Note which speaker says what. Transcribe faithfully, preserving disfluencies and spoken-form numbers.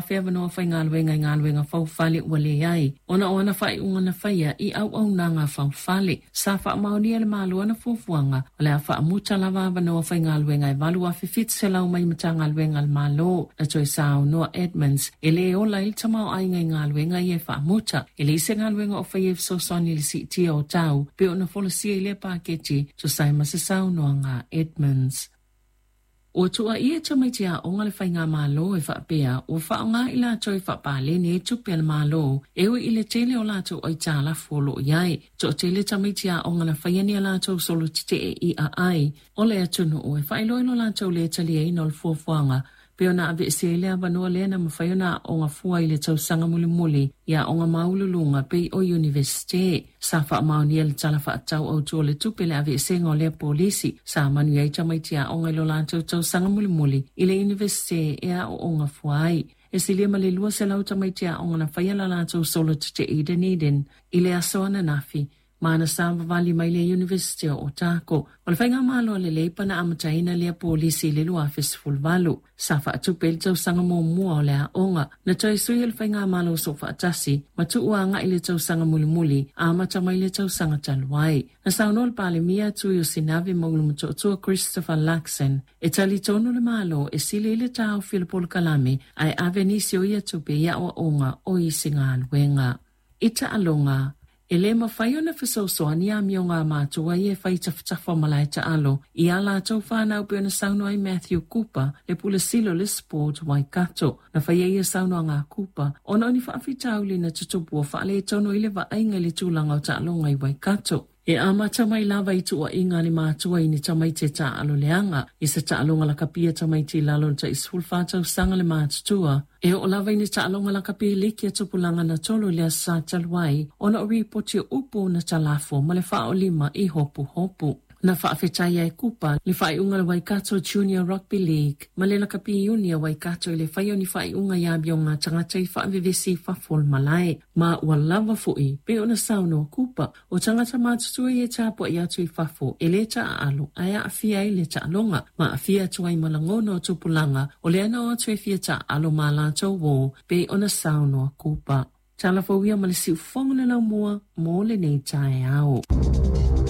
Speaker 1: afe avanoa faigaluega i galuega faufale ua leai, ona o ana faaiuga na faia i auaunaga faufale. Sa faamaonia e le Malo ana fuafuaga o le a faamuta lava avanoa faigaluega e valu afe fitu selau mai Matagaluega a le Malo. Na toe saunoa Edmonds e lē ola ai le tamaoaiga i galuega ia e faamuta. E leai se galuega o faia e fesoasoani i le siitia o tau pei ona folasia i lea paketi, tusa ai ma se saunoaga a Edmonds. Ua tuuaia tamaiti aoga le faigamalo e faapea ua faaaoga i latou e faapaleni ai tupe a le Malo, e ui i le tele o latou aitalafu o loo i ai. Toatele tamaiti aoga na faia ni a latou solo tetee i aai o le atunuu e faailoa i lo latou lē taliaina o le fuafuaga pei ona aveesea ai le avanoa lea na mafai ona aooga fua i le tausaga mulimuli i aoga maualuluga pei o Iunivesite. Sa faamaonia le Tala Faatatau Autu o le Tupe le aveesega o lea polisi. Sa manuia ai tamaiti aoga i lo latou tausaga mulimuli i le Iunivesite e aooga fua ai. E silia ma le lua selau tamaiti aoga na faia la latou solo tetee i Dunedin i le aso ananafi, ma na savavali mai le Iunivesite o Otago. O le faigamalo a le Leipa na amataina lea polisi i le lua afe sefuluvalu. Sa faatupe le tausaga muamua o le aoga. Na toe sui e le faigamalo soofaatasi ma tuu agai le tausaga mulimuli amata mai le tausaga talu ai. Na saunoa le Palemia Tui o Sinave ma Ulumotootua Christopher Luxon e talitonu le Malo e sili i le taofi o le polokalame ae ave nisi o ia tupe i aoaoga o isi galuega. I taaloga, e lē mafai ona fesoasoani amioga a matua ia e fai tafatafa o malae taalo i a latou fanau pei ona saunoa ai Matthew Cooper, le Pule Sili o le Sport Waikato. Na faia ia saunoaga a Cooper ona o ni faafitauli na tutupu ua faaletonu ai le vaaiga i le tulaga o taaloga i Waikato. E amata mai lava i tuuaiga a le matua i ni tamaiti e taaalo leaga i se taaloga lakapi a tamaiti i lalo o le tai sefulufa tausaga le matutua, e oo lava i ni taaloga lakapi liki a tupulaga na tolo i le Aso Sa talu ai ona o ripoti o upu na talafo ma le faaolima i hopuhopu. Na faafetaia e Kupa le faaiuga a le Waikato Junior Rugby League ma le lakapi iuni a Waikato i le faia o ni faaiuga i amioga a tagata i faavevesi i fafo o le malae, ma ua lava fo'i pei ona saunoa Kupa. O tagata matutua ia e tapuai atu i fafo e lē taaalo ae aafia ai le taaloga ma aafia atu ai ma lagona o tupulaga o lea na o atu e fia taaalo ma latou uō pei ona saunoa Kupa. Tala fou ia ma le siufofoga o le laumua mo lenei taeao.